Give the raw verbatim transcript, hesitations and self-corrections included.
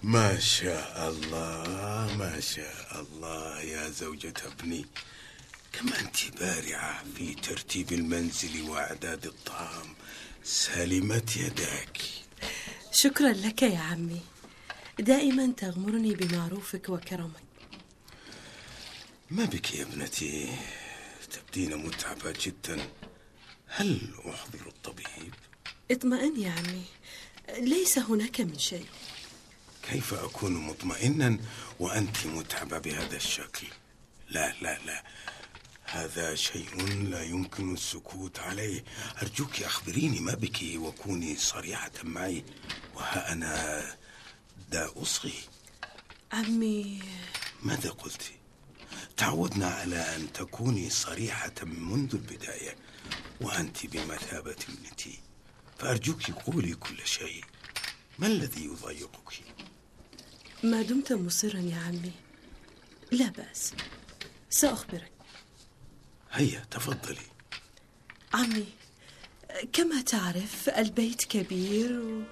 ما شاء الله ما شاء الله يا زوجة ابني، كما أنت بارعة في ترتيب المنزل وإعداد الطعام، سلمت يداك. شكرا لك يا عمي، دائما تغمرني بمعروفك وكرمك. ما بك يا ابنتي، تبدين متعبة جدا، هل أحضر الطبيب؟ اطمئن يا عمي، ليس هناك من شيء. كيف أكون مطمئنا وأنت متعبة بهذا الشكل؟ لا لا لا، هذا شيء لا يمكن السكوت عليه. أرجوك أخبريني ما بك وكوني صريحة معي، وها أنا دا أصغي. عمي، ماذا قلت؟ تعودنا على أن تكوني صريحة منذ البداية، وأنت بمثابة ابنتي، فأرجوك قولي كل شيء. ما الذي يضايقك؟ ما دمت مصرا يا عمي لا بأس، سأخبرك. هيا تفضلي. عمي، كما تعرف البيت كبير و...